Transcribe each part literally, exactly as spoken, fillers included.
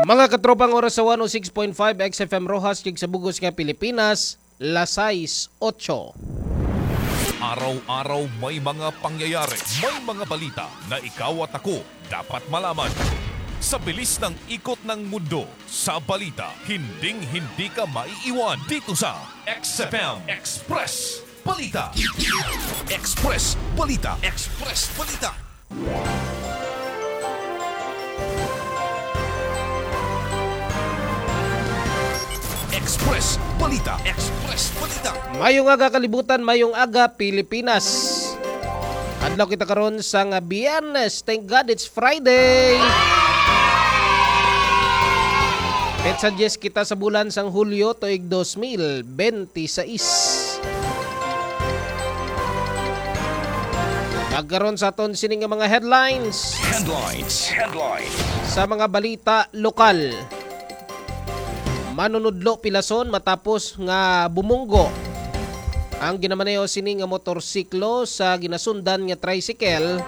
Mga katropang oras sa one oh six point five X F M Roxas, kag sa bugos nga Pilipinas, las sais otso. Araw-araw may mga pangyayari, may mga balita na ikaw at ako dapat malaman. Sa bilis ng ikot ng mundo, sa balita, hinding-hindi ka maiiwan dito sa X F M Express Balita. Express Balita. Express Balita. Express Balita. Express Balita. Mayong aga, kalibutan, mayong aga, Pilipinas. Adlaw kita karon sa nga Biyernes. Thank God it's Friday. Petsa diyes kita sa bulan sang Hulyo, tuig dos mil bente sais. Pagkaron sa aton sini nga mga headlines. Headlines. Headlines. Sa mga balita lokal. Manunudlo pilason matapos nga bumunggo ang ginamaneho sini nga motorsiklo sa ginasundan nga tricycle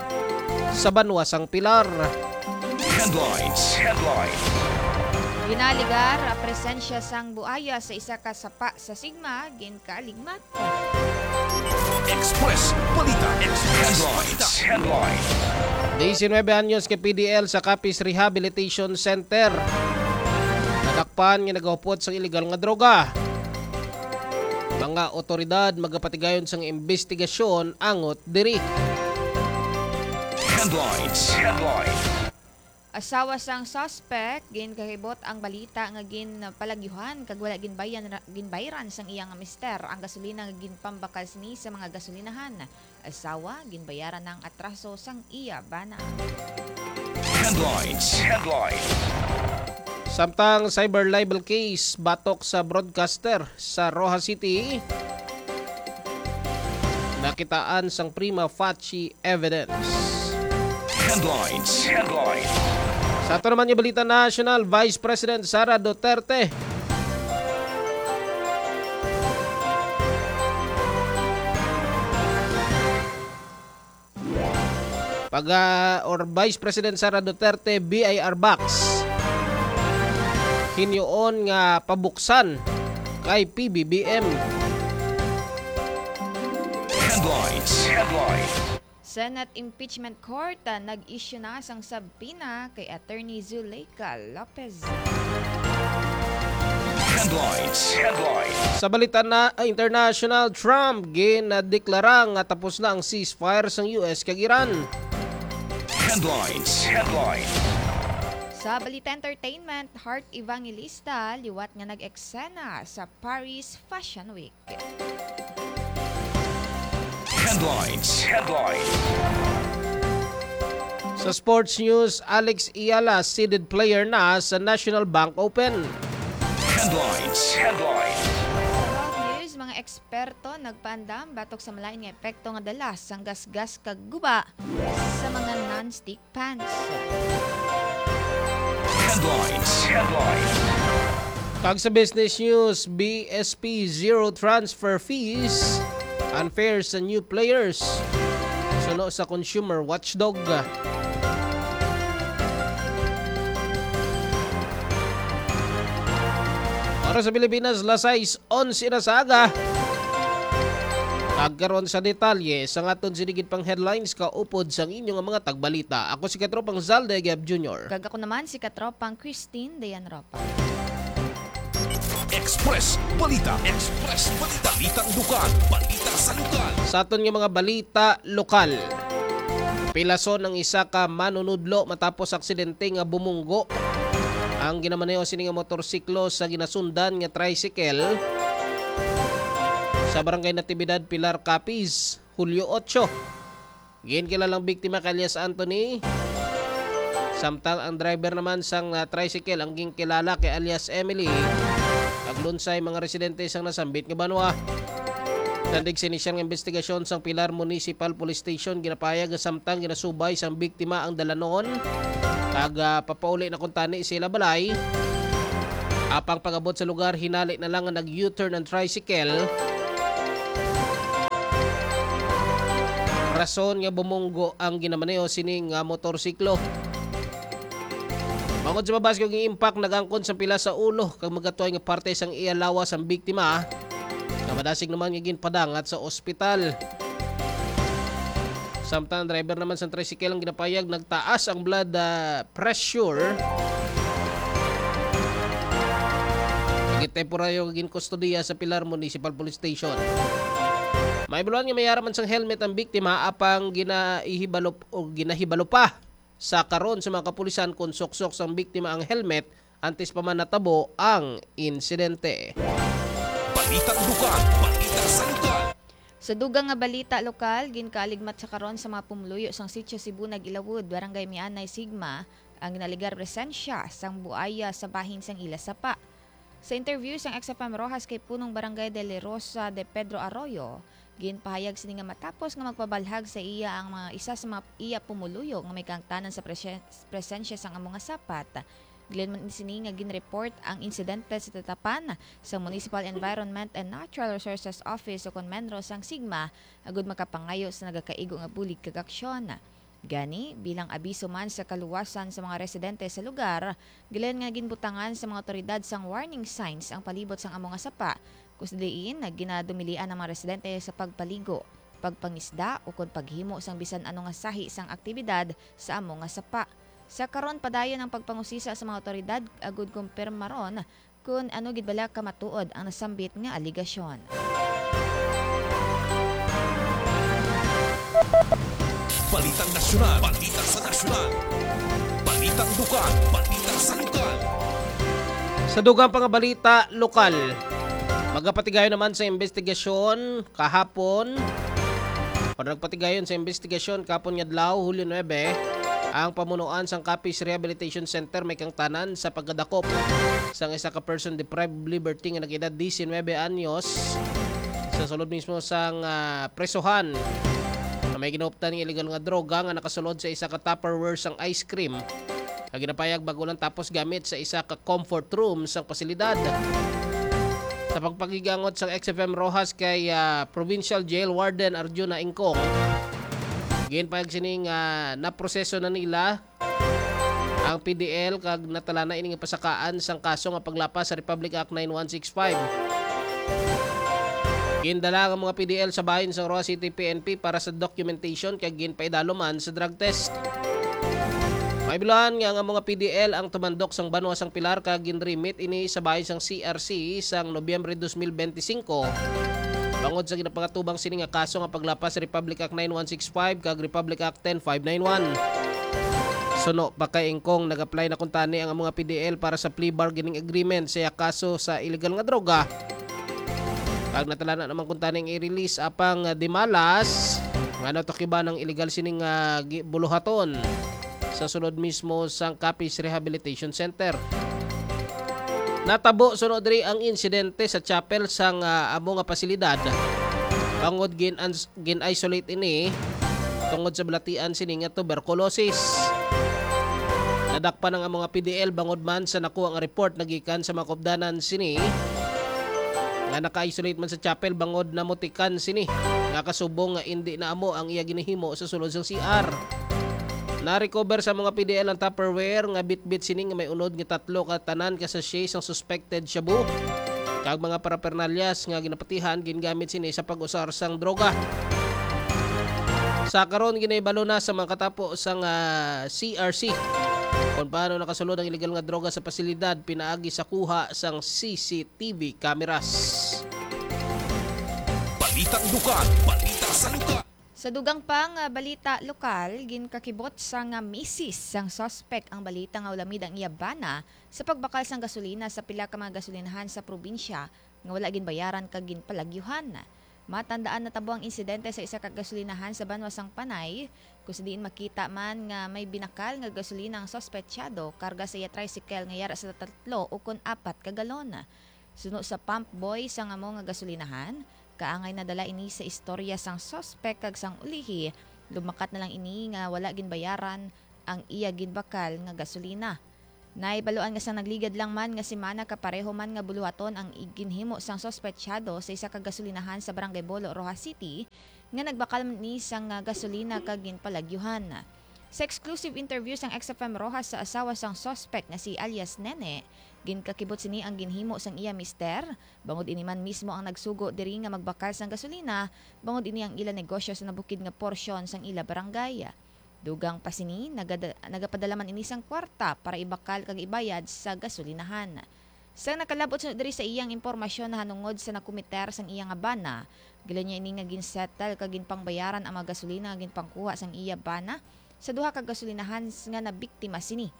sa banwa sang Pilar. Headlines. Headlines. Ginaligar ang presensya sang buaya sa isa ka sapa sa Sigma, ginkaligmat. Express Balita. Express Balita. Headlines. Diecinuebe anyos ka P D L sa Capiz Rehabilitation Center. Nadakpan nga nagahupot sang iligal nga droga. Mga otoridad magapatigayon sang imbestigasyon angot diri. Headlines. Headlines. Asawa sang suspect, ginkahibot ang balita nga ginpalagyuhan kag wala ginbayan-, ginbayran sang iya nga mister ang gasolina nga ginpambakal sini sa mga gasolinahan. Asawa, ginbayaran na ang atraso sang iya bana. Headlines. Headlines. Samtang cyber libel case batok sa broadcaster sa Roxas City, nakitaan sang prima facie evidence. Headlines. Headlines. Sa ato naman nga balita national, Vice President Sara Duterte pag, ah, or Vice President Sara Duterte, B I R box. Hinuon nga pabuksan kay P B B M. Headlines. Headlines. Senate Impeachment Court, ah, nag-issue na sang subpoena kay Attorney Zuleika Lopez. Headlines. Headlines. Sa balita na, ah, international, Trump ginadeklara nga tapos na ang ceasefire sang U S kag Iran. Headlines. Headlines. Sa balita entertainment, Heart Evangelista liwat nga nag-eksena sa Paris Fashion Week. Headlines. Headlines. Sa sports news, Alex Eala seeded player na sa National Bank Open. Headlines. Headlines. Sa health news, mga eksperto nagpaandam batok sa malain nga epekto nga dala sang gasgas kag guba sa mga non-stick pans. Headlines. Headlines. Kag sa business news, B S P zero transfer fees, unfair sa new players, suno sa consumer watchdog. Para sa Pilipinas, las sais onse na sa aga. Pagkaron sa detalye sang aton sini gid pang headlines kaupod sang inyo nga mga tagbalita. Ako si Katropang Zalde Gab Junior. Kag ako naman si Katropang Christine Dayan Ropa. Express Balita. Express Balita. Balitang lokal. Balita sa lokal. Sa aton nga mga balita lokal. Pilason ang isa ka manunudlo matapos aksidente nga bumunggo ang ginamaneho sini nga motorsiklo sa ginasundan nga tricycle sa Barangay Natividad, Pilar, Capiz, Hulyo otso. Ginkilalang biktima kay alias Anthony, samtang ang driver naman sang, ah, tricycle ang ginkilala kay alias Emily. Naglunsay mga residente sang nasambit nga banwa. Tandog sa inisyal nga investigasyon sang Pilar Municipal Police Station, ginapahayag nga samtang ginasubay sang biktima ang dalanon, kag, ah, papauli na kuntani sila balay. Apang pag-abot sa lugar, hinali na lang nga nag-U-turn ang tricycle. Rason nga bumunggo ang ginamaneho sini nga motorsiklo. Tungod sa mabas nga impact, nag-angkon sang pila sa ulo kag magatuay nga parte sang iya lawas ang biktima, nga madasig naman nga ginpadangat sa ospital. Samtang ang driver naman sang tricycle ang ginapayag, nagtaas ang blood, ah, pressure. Gintemporaryo ginkustodiya sa Pilar Municipal Police Station. Maibaluan nga may ara man sang helmet ang biktima, apang ginahibalo o ginahibalo pa sa karon sa mga kapulisan kon suksok sang biktima ang helmet antes pa man natabo ang insidente. Balitang Dugang, balita sa lugar. Sa dugang nga balita lokal, ginkaaligmat sa karon sa mga pumuluyo sang Sitio Cebu Nag-Ilawod, Barangay Mianay, Sigma, ang ginalegar presensya sang buaya sa bahin sang ila sapa. Sa interview sang X F M Roxas kay Punong Barangay de la Rosa de Pedro Arroyo, ginpahayag sini nga matapos nga magpabalhag sa iya ang mga isa sa mga iya pumuluyo nga may kahangtanan sa presye-, presensya sang amo nga sapat, gilinman sini nga ginreport ang insidente sa tatapan sa Municipal Environment and Natural Resources Office o kon MENRO sang Sigma agud makapangayo sa nagakaigo nga bulig kag aksyon. Gani, bilang abiso man sa kaluwasan sa mga residente sa lugar, gilingan nga ginbutangan sa mga awtoridad sang warning signs ang palibot sang amo nga sapa, kung sa diin nga ginadumilian ang mga residente sa pagpaligo, pagpangisda, ukon paghimo sang bisan ano nga sahi sang aktibidad sa amo nga sapa. Sa karon, padayon ang pagpangusisa sa mga awtoridad agud kumpirmaron kon ano gid bala ka matuod ang nasambit nga aligasyon. Balitang nasyonal, balita sa nasyonal. Balitang lokal, balita sa lokal. Sa dugang pa nga balita lokal, magapatigayon naman sa investigasyon kahapon, o nagpatigayon sa investigasyon kahapon nga adlaw, Hulyo nuebe, ang pamunuan sang Capiz Rehabilitation Center may kahangtanan sa pagkadakop sang isa ka person deprived of liberty nga nag-edad diecinuebe anyos sa sulod mismo sang, ah, presohan, nga may ginuptan nga illegal nga droga nga nakasulod sa isa ka Tupperware sang ice cream nga ginapayag bag-o lang tapos gamit sa isa ka comfort room sang pasilidad. Sa pagpakigangot sang X F M Roxas kay, ah, Provincial Jail Warden Arjuna Ingkong, ginpayag sini nga naproseso na nila ang P D L kag natalana ini nga pasakaan sang kaso nga paglapas sa Republic Act nine one six five. Gindala ang mga P D L sa bahin sang Roxas City P N P para sa documentation kag ginpaidalo man sa drug test. Maibaluan nga ang mga P D L ang tumandok sang banwa sang Pilar kag ginrimit ini sa bahin sang C R C sang Nobyembre dos mil bente singko bangod sa ginapangatubang sini nga kaso nga paglapas sa Republic Act nine one six five kag Republic Act ten five nine one. Suno pa kay Ingkong, nag-apply na kuntani ang mga P D L para sa plea bargaining agreement sa iya kaso sa illegal nga droga. Kag natalana naman kuntani ang i-release, apang, ah, di malas nga natukiban ang illegal sining, ah, gi-, buluhaton sa sulod mismo sang Capiz Rehabilitation Center. Natabo suno diri ang insidente sa chapel sang, ah, amo nga pasilidad, bangod gin-, gin-isolate ini tungod sa balatian sini nga tuberculosis. Nadakpan ang amo nga P D L bangod man sa nakuha nga report nagikan sa mga kaupdanan sini nga naka-isolate man sa chapel bangod namutikan sini nga kasubong nga indi na amo ang iya ginahimo sa sulod sang C R. Na-recover sa mga P D L ang Tupperware nga bitbit sini nga may unod nga tatlo ka tanan ka sachet sang suspected shabu kag mga parapernalyas nga ginapatihan gingamit sini sa pag-usar sang droga. Sa karon, ginahibalo na sa mga katapo sang, ah, C R C kung paano nakasulod ang illegal nga droga sa pasilidad pinaagi sa kuha sang C C T V cameras. Balitang lugar, balita sa lugar. Sa dugang pa nga balita lokal, ginkakibot sang misis sang suspek ang balita nga ulamid ang iya bana sa pagbakal sang gasolina sa pila ka mga gasolinahan sa probinsya nga wala ginbayaran kag ginpalagyuhan. Matandaan, natabo ang insidente sa isa ka gasolinahan sa banwa sang Panay, kung sa diin makita man nga may binakal nga gasolina ang suspetsado karga sa iya tricycle nga yara sa tatlo ukon apat ka galon. Suno sa pump boy sang amo nga gasolinahan, kaangay nadala ini sa istorya sang suspek kag sang ulihi, lumakat na lang ini nga wala ginbayaran ang iya ginbakal nga gasolina. Nahibaluan nga sang nagligad lang man nga semana, kapareho man nga buluhaton ang ginhimo sang suspetsado sa isa ka gasolinahan sa Barangay Bolo, Roxas City, nga nagbakal man ni sang, ah, gasolina kag ginpalagyuhan. Sa exclusive interview sang X F M Roxas sa asawa sang suspect nga si alias Nene, ginkakibot sini ang ginhimo sang iya mister, bangod ini man mismo ang nagsugo diri nga magbakal sang gasolina, bangod ini ang ila negosyo sa nabukid nga porsyon sang ila barangay. Dugang pa sini, nagada-, nagapadala man ini sang kwarta para ibakal kag ibayad sa gasolinahan. Sang nakalab-ot suno diri sa iyang impormasyon nahanungod sa nakomiter sang iya nga bana, gilaw niya ini nga ginsettle kag ginpangbayaran ang mga gasolina nga ginpangkuha sang iya bana sa duha ka gasolinahan s-, nga nabiktima sini.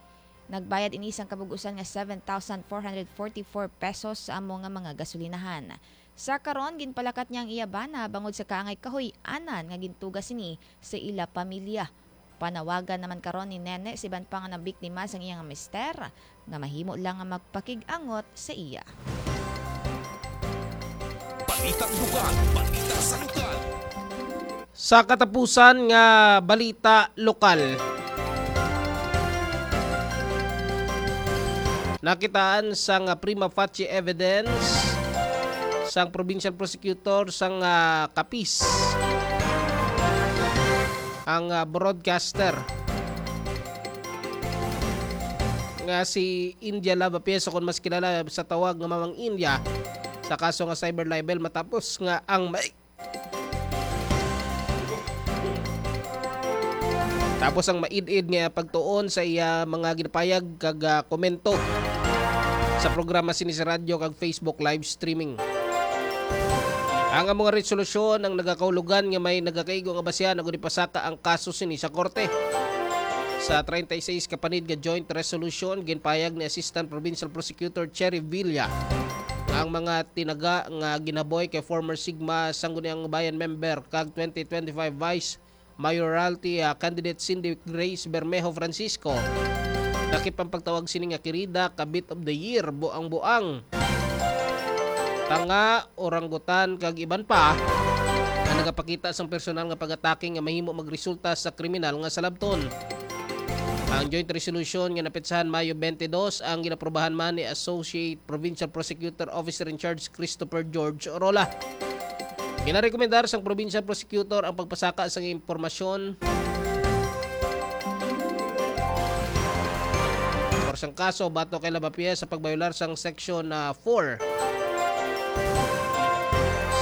Nagbayad ini sang kabug-usan nga seven thousand four hundred forty-four pesos sa amo nga mga gasolinahan. Sa karon, ginpalakat niya ang iya bana bangod sa kaangay kahuy-anan nga gintuga sini sa ila pamilya. Panawagan naman karon ni Nene sa iban pa nga nabiktima sang iyang mister nga mahimo lang nga magpakig-angot sa iya. Balitang lugar, balita sa lugar. Sa katapusan nga balita lokal, nakitaan sang prima facie evidence sang provincial prosecutor sang, ah, Capiz, ang, ah, broadcaster nga si India Lava Pies, o kon mas kilala sa tawag nga Mamang India, sa kaso nga cyber libel, matapos nga ang may Tapos ang maid-id nga pagtuon sa iya mga ginapayag kag, ah, komento sa programa sini sa radyo kag Facebook live streaming. Ang amo nga resolusyon ang nagakahulugan nga may nagakaigo nga basihan agud ipasaka ang kaso sini sa korte. Sa treinta y seis ka panid nga joint resolution, ginpayag ni Assistant Provincial Prosecutor Cherry Villa nga ang mga tinaga nga ginaboy kay former Sigma Sangguniang Bayan member kag twenty twenty-five Vice Mayoralty, ah, candidate Cindy Grace Bermejo Francisco, lakip ang pagtawag sini nga kirida, kabit of the year, buang-buang, tanga, oranggutan, kag iban pa, nga nagapakita sang personal nga pag-atake nga mahimo magresulta sa kriminal nga salabton. Ang joint resolution nga napetsahan Mayo twenty-two ang ginaprobahan man ni Associate Provincial Prosecutor Officer in Charge Christopher George Orola. Ginarekomendar sang provincial prosecutor ang pagpasaka sang impormasyon or sang kaso batok kay Lavapies sa pagbayolar sang Section, ah, four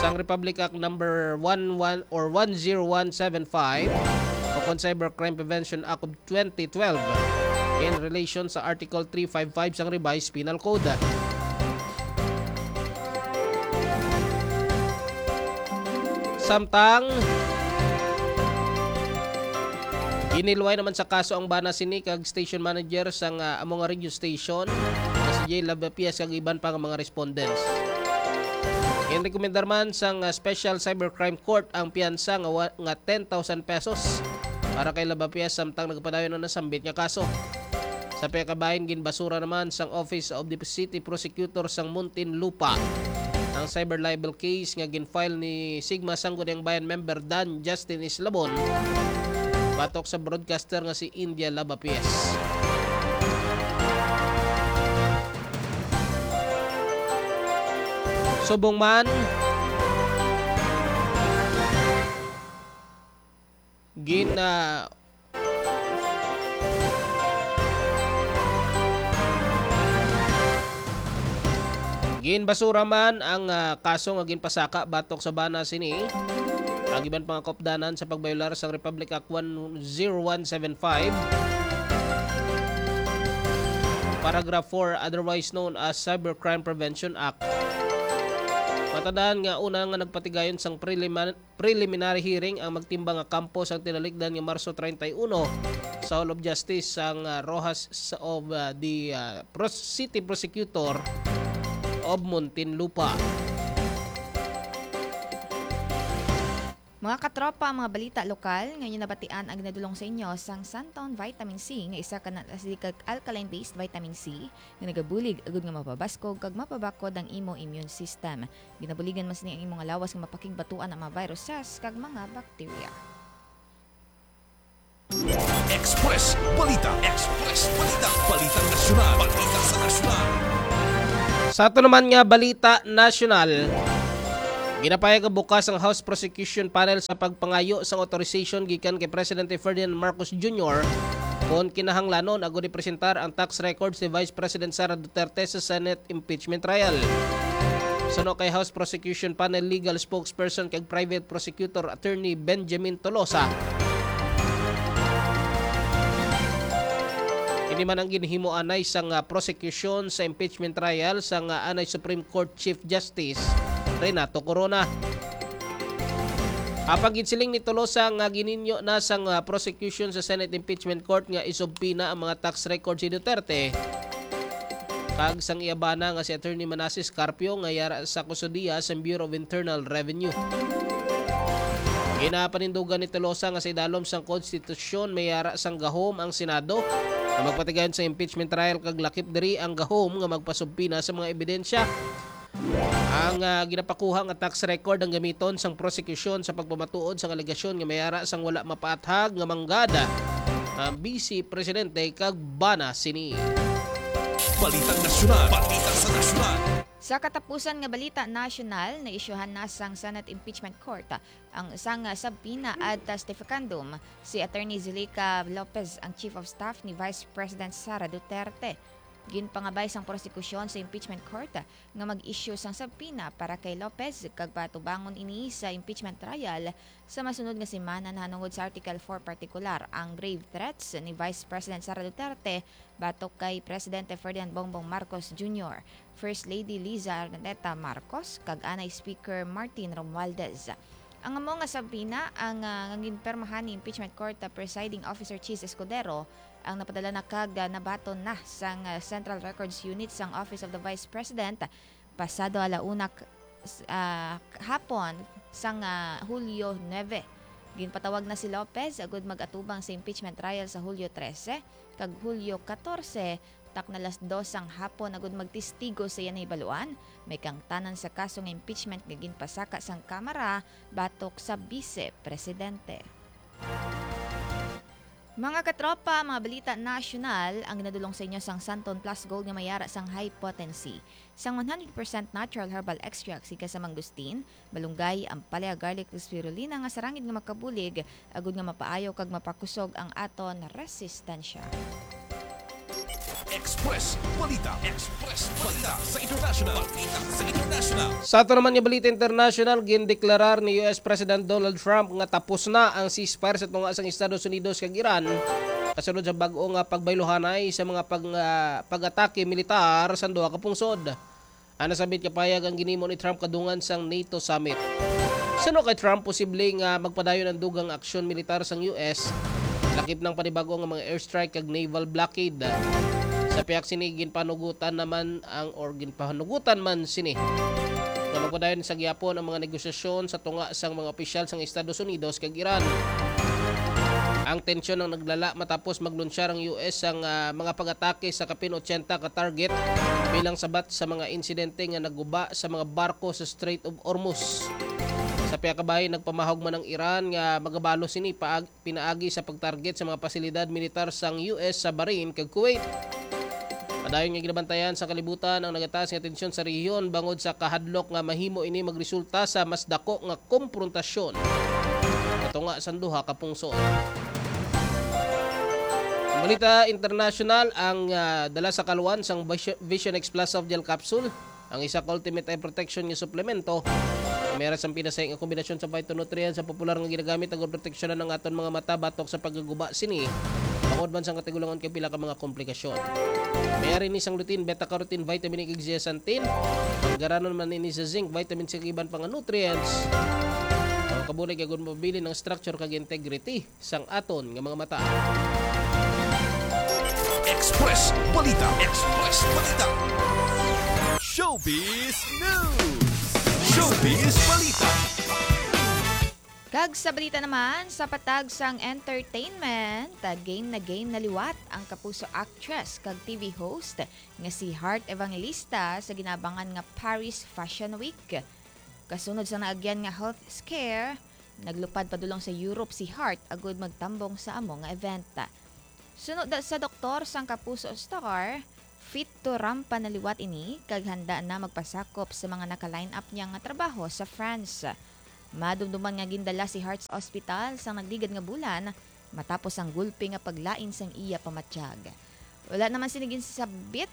sang Republic Act Number one one or one zero one seven five o kon Cybercrime Prevention Act of twenty twelve in relation sa Article three five five sang Revised Penal Code. Samtang ginilway naman sa kaso ang bana sini kag station manager sang, ah, amo nga radio station nga si Jay Labapias kag iban pa nga mga respondents. Ginrekomendar man sang, ah, Special Cybercrime Court ang piyansa nga wa-, nga ten thousand pesos para kay Labapias samtang nagapadayon ang nasambit nga kaso. Sa pagkabahin, ginbasura naman sang Office of the City Prosecutor sang Muntinlupa ang cyber libel case nga gin-file ni Sigma Sangguniang Bayan member Dan Justin Islabon batok sa broadcaster nga si India Labapies. Subong man, gin, ah, ginbasura man ang, ah, kaso nga ginpasaka batok sa bana sini. Ang iban pa nga kaupdanan sa pagbayolar sang Republic Act one zero one seven five, Paragraph four, otherwise known as Cybercrime Prevention Act. Matandaan nga una nga nagpatigayon sang prelimin-, preliminary hearing ang magtimbang nga kampo sang tinalikdan nga Marso treinta y uno sa Hall of Justice sang, ah, Roxas of, ah, the, ah, Pros-, City Prosecutor of Muntinlupa. Mga katropa, ang mga balita lokal nga inyo nabatian ang ginadulong sa inyo sang Santon Vitamin C, nga isa ka non-acidic kag alkaline-based vitamin C nga nagabulig agud nga mapabaskog kag mapabakod ang imo immune system. Ginabuligan man sini ang imo nga lawas nga mapakigbatuan ang mga viruses kag mga bakterya. Express Balita. Express Balita. Balita nasyonal. Balita sa nasyonal. Sa ato naman nga balita nasyonal, Ginapahayag nga bukas ang House Prosecution Panel sa pagpangayo sang authorization gikan kay Presidente Ferdinand Marcos Junior kon kinahanglanon agud ipresentar ang tax records ni Vice President Sara Duterte sa Senate impeachment trial. Suno kay House Prosecution Panel Legal Spokesperson kag Private Prosecutor Attorney Benjamin Tolosa, ini man ang ginhimo anay sang, ah, prosecution sa impeachment trial sang, ah, anay Supreme Court Chief Justice Renato Corona. Apang ginsiling ni Tolosa nga gininyo na sang, ah, prosecution sa Senate Impeachment Court nga isubpina ang mga tax records ni Duterte kag sang iya bana nga si Attorney Manases Carpio nga yara sa kustudiya sa Bureau of Internal Revenue. Ginapanindugan ni Tolosa nga sa idalom sang konstitusyon may yara sang gahom ang Senado nga magpatigayon sa impeachment trial kag lakip diri ang gahom nga magpasubpina sa mga ebidensya. Ang, ah, ginapakuha nga tax record ang gamiton sang prosekusyon sa pagpamatuod sang alegasyon nga may ara sang wala mapaathag nga manggad ang Vice Presidente kag bana sini. Balitang nasyonal, balita sa nasyonal. Sa katapusan nga balita nasyonal, naisyuhan na sang Senate Impeachment Court ang isang, ah, subpoena ad testificandum si Attorney Zuleika Lopez, ang Chief of Staff ni Vice President Sara Duterte. Ginpangabay sang prosekusyon sa impeachment court nga mag-issue sang subpoena para kay Lopez kag patubangon ini sa impeachment trial sa masunod nga semana nahanungod sa Article four, partikular ang grave threats ni Vice President Sara Duterte batok kay Presidente Ferdinand Bongbong Marcos Junior, First Lady Liza Araneta Marcos, kag anay Speaker Martin Romualdez. Ang amo nga subpoena ang, ah, nga ginpirmahan ni impeachment court, ah, presiding officer Chiz Escudero ang napadala na kag, ah, nabaton na sang, ah, Central Records Unit sang Office of the Vice President pasado ala una k-, s-, ah, hapon sang, ah, Hulyo nuebe. Ginpatawag na si Lopez agud mag-atubang sa impeachment trial sa Hulyo trese kag Hulyo katorse, takna alas dos sang hapon, agud magtestigo sa iya nahibaluan may kaangtanan sa kaso nga impeachment nga ginpasaka sang Kamara batok sa Bise Presidente. Mga katropa, mga balita nasyonal ang ginadulong sa inyo sang Santon Plus Gold nga may ara sang high potency sang one hundred percent natural herbal extract gikan sa mangustin, malunggay, ampalaya, garlic, ug spirulina nga sarangin nga makabulig agud nga mapaayo kag mapakusog ang aton resistensya. Express Balita. Express Balita sa international. Balita sa international. Sa ato naman nga balita international, gindeklarar ni U S President Donald Trump nga tapos na ang ceasefire sa tunga sang Estados Unidos kag Iran, kasunod sa bag-o nga pagbayluhanay sa mga pag-, ah, pag-atake militar sa duha ka pungsod. Ang nasambit nga pahayag ang ginhimo ni Trump kadungan sang NATO summit. Suno kay Trump, posible nga magpadayon ang dugang aksyon militar sang U S, lakip na ang panibag-o nga mga airstrike kag naval blockade. Sa pihak sini, ginpanugutan naman ang, or ginpanugutan man sini nga magpadayon sa gihapon ang mga negosasyon sa tunga sang mga opisyal sang Estados Unidos kag Iran. Ang tensyon ang naglala matapos maglunsyar ang U S sang, ah, mga pag-atake sa kapin otsenta ka target bilang sabat sa mga insidente nga nagguba sa mga barko sa Strait of Hormuz. Sa pihak ka bahin, nagpamahog man ang Iran nga magabalo sini paag-, pinaagi sa pagtarget sa mga pasilidad militar sang U S sa Bahrain kag Kuwait. Padayon nga ginabantayan sa kalibutan ang nagataas nga tensyon sa rehiyon bangod sa kahadlok nga mahimo ini magresulta sa mas dako nga komprontasyon sa tunga sang duha ka pungsod. Ang balita internasyonal, ang, ah, dala sa kaluan sang Vision, Vision X Plus Soft Gel Capsule, ang isa ka ultimate eye protection nga suplemento. May ara sang pinasahi nga kombinasyon sa phytonutrients sa popular nga ginagamit agud proteksyonan ang aton mga mata batok sa pagkaguba sini, bangod man sang katigulangon kay pila ka mga komplikasyon. May ara ini sang lutein, beta-carotene, vitamin E, kag zeaxanthin. Garanon man ini sa zinc, vitamin C, kag iban pa nga nutrients. Ang kabulig agud mabilin ang structure kag integrity sang aton nga mga mata. Express Balita. Express Balita. Showbiz News. Showbiz Balita. Kag sa balita naman, sa patag sang entertainment, game na game na liwat ang kapuso actress kag T V host nga si Heart Evangelista sa ginabangan nga Paris Fashion Week. Kasunod sa naagyan nga health scare, naglupad padulong sa Europe si Heart agud magtambong sa amo nga event. Suno da-, sa doktor sang kapuso star, Fit to rampa na liwat ini kag handa na magpasakop sa mga naka-line up niya nga trabaho sa France. Madumduman nga gindala si Hart sa ospital sang nagligad nga bulan matapos ang gulpi nga paglain sang iya pamatyag. Wala naman sini ginsabit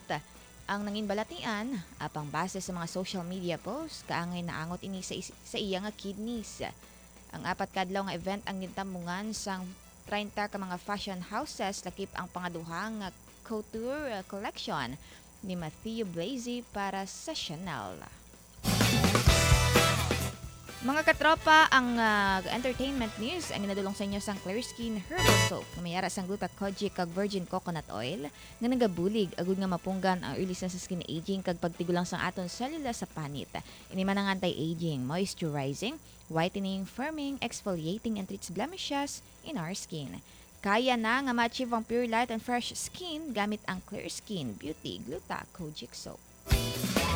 ang nanginbalatian, apang base sa mga social media posts, kaangay naangot ini sa, is- sa iya nga kidneys. Ang apat ka adlaw nga event ang gintambungan sang treinta ka mga fashion houses, lakip ang pangaduha nga couture collection ni Matthew Blazy para sa Chanel. Mga katropa, ang, ah, entertainment news ang ginadulong sa inyo sang Clear Skin Herbal Soap nga may ara sang gluta kojic kag virgin coconut oil nga nagabulig agud nga mapunggan ang early signs sa skin aging kag pagtigulang sang aton selula sa panit. Ini man ang anti-aging, moisturizing, whitening, firming, exfoliating, and treats blemishes in our skin. Kaya na nga ma-achieve ang pure light and fresh skin gamit ang Clear Skin Beauty Gluta Kojic Soap.